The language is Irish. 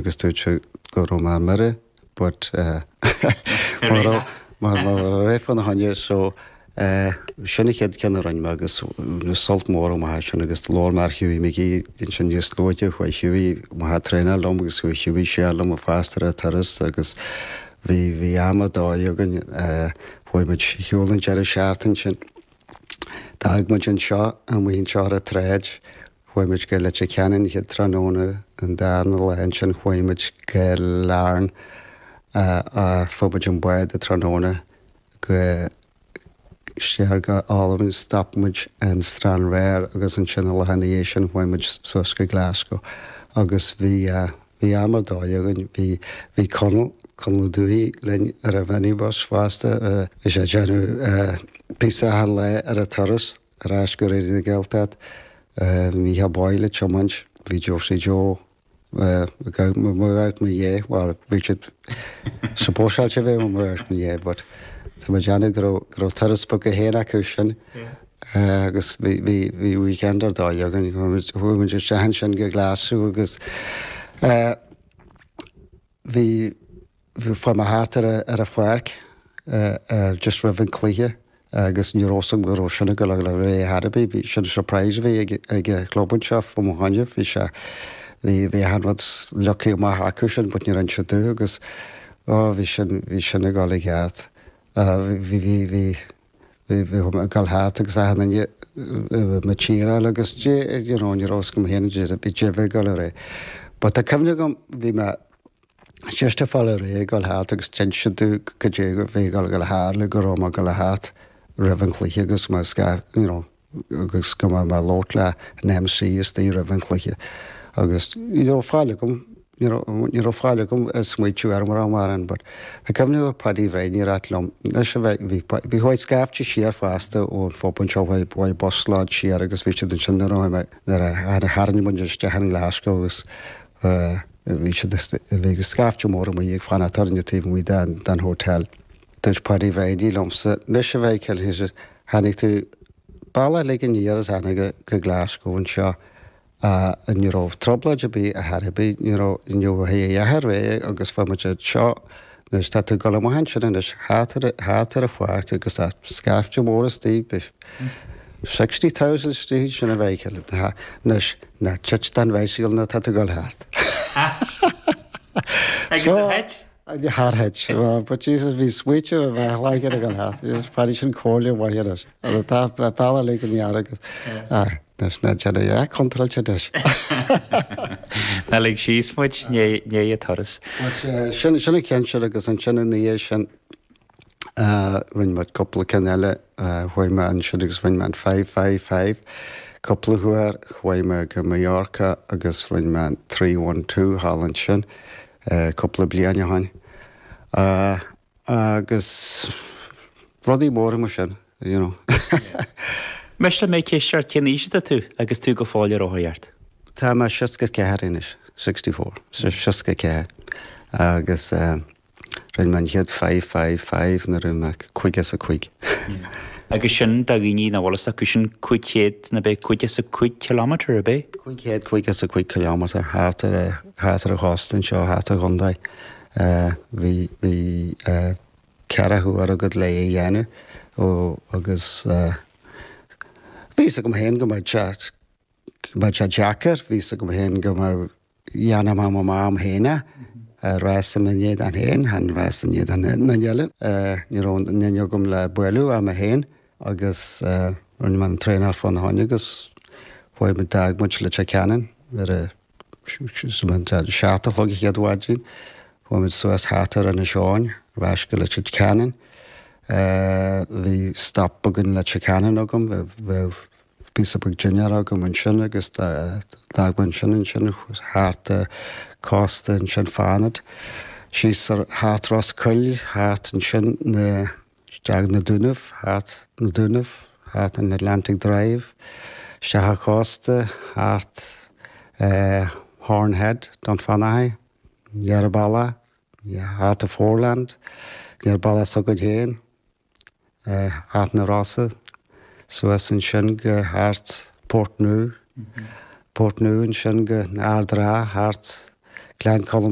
Agus dúirt sé go raibh mé ar mire but mar raibh fána choinne so sin an chéad ceann a rinne mé agus sult mór amach as sin agus labhair mé ar Hughie McGee ansin níos luaithe chuaigh Hughie amach ag traenáil liom agus chuaigh Hughie siar liom fosta ar an turas agus bhí bhí am ar dóigh againn chuaigh muid ar shiúl an deireadh seachtaine sin. D'fhág muid anseo amuigh anseo ar an tsráid Chuaigh muid go Leitir Ceanainn an chéad tráthnóna, an darna lá ansin chuaigh muid go Larne, fuair muid an bád an tráthnóna go siar go Albain, stop muid in Stranraer agus ansin an lá ina dhiaidh sin chuaigh muid suas go Glasgow agus bhí bhí am ar dóigh againn, bhí bhí Conall, Conall Ó Dubhthaigh linn ar an mhinibus fosta, bhí sé ag déanamh píosa achan lá ar an turas. Ar ais go Raidió na Gaeltachta, Mícheál Boyle ag tiomáint, bhí Josie Joe i mo amharc mo dhiaidh, bhuel bhí siad supposáilte a bheith i mo amharc mo dhiaidh but tá mé ag déanamh go raibh go raibh turas beag féin acu sin agus bhí bhí bhí weekend ar dóigh againn, chuaigh muid isteach ansin go Glaschú agus bhí Bhí fuair mé thart ar ar an pháirc just roimh an cluiche agus ní raibh 'fhios agam go raibh sin ag dul a ghoil ar aghaidh ar bith. Bhí sin surprise a bhí ag ag an chlub anseo fá mo choinne. Bhí sé bhí bhí achan rud leagtha amach acu sin but níor inis siad domh agus oh bhí sin bhí sin ag dul i gceart. Bhí bhí bhí bhí bhí mé ag dul thart agus achan duine mo cheeráil agus you know ní raibh 'fhios agam féin bhí bhí ag dul ar aghaidh. But tá cuimhne agam bhí mé just ag fáil ar aghaidh ag dul thart agus d'inis siad domh cad é a bhí ag dul a tharlú go raibh mé ag dul thart roimh an chluiche agus mé scaith you know agus go mbeadh mé ag labhairt le an MC istigh roimh an chluiche agus ní raibh faill agam ní raibh ní raibh faill agam ag smaoitiú ar mar mar an but tá cuimhne ar Paddy Bhreidhní ag ráit liom anois a bheith bhí bhí chuaigh scaifte siar fosta ón phub anseo chuaigh chuaigh busload siar agus bhí siad ansin nuair a chuaigh mé nuair a tharraing muid isteach in Glasgow agus Bhí siad, bhí scaifte mór amuigh ag fanacht orainne taobh amuigh den hotel. Dúirt Paddy Bhreidhní liomsa, 'Anois a Mhichael, he said, tháinig tú bealach uilig aniar is tháinig go Glasgow anseo ní raibh trioblóid ar bith ar chor ar bith, ní raibh, ní raibh a dhath ar aghaidh agus bhí muid anseo, anois tá tú ag dul amach ansin anois thart ar, thart ar an pháirc agus tá scaifte mór istigh, 60,000 istigh ansin a Mhichael, anois, Ná tit den bhicycle nuair atá tú ag dul thart. Agus ar thit? Char thit. But Jesus, bhí smaoitiú ar bheith láidir ag dul thart. Bhí sin comhairle mhaith anois. Tá bealach uilig aniar agus anois ná déan a dhath contráilte anois. Ná lig síos muid i ndiaidh an turas. Sin sin an ceann sin agus ansin ina dhiaidh sin Rinne muid cúpla ceann eile, chuaigh mé ansin agus rinne mé an 555 cúpla huair, chuaigh mé go Mallorca agus rinne mé an 312 thall ansin cúpla bliain ó shin. Agus rudaí móra mar sin, you know. Miste liom ceist ort, cén aois atá tú agus tú go fóill ag rothaíocht? Tá mé 64 anois, 64, 64 agus. Rinne mé an chéad 555 nuair a bhí mé 55. Agus sin do dhaoine nach bhfuil fhios acu, sin 500 nó ab é 55 kilometre, ab é? 555 kilometre thart ar thart ar an chósta anseo, thart ar an chontae. Bhí bhí ceathracha uair agat le é a dhéanamh ó agus bhí fhios agam féin go mbeadh sé go mbeadh sé deacair, bhí fhios agam féin go mbeadh Dhéanfaidh mé mo m'am féin é. Rása i ndiaidh an féin, chan rása i ndiaidh an duine eile. Ní raibh aon duine agam le bualadh ach mé féin agus rinne mé an traenáil fána choinne agus chuaigh muid, d'fhág muid Leitir Ceanainn ar a 7 a chlog an chéad mhaidin. Chuaigh muid suas thart ar Inis Eoghain, ar ais go Leitir Ceanainn. Bhí stop beag in Leitir Ceanainn agam, bheadh píosa beag dinnéar agam ansin agus d'fhág mé ansin ansin thart cósta ansin Fánaid, síos thart Ros Coill, thart ansin na, isteach na Dúnaibh, thart na Dúnaibh, thart an Atlantic Drive, isteach an chósta, thart Horn Head, Dún Fionnachaidh, deireadh bealaigh, thart an Foreland, deireadh bealaigh s'againn féin. thart na Rosa, suas ansin go thart Portnoo, Portnoo ansin go Ard an Rátha, thart. Gleann Cholm.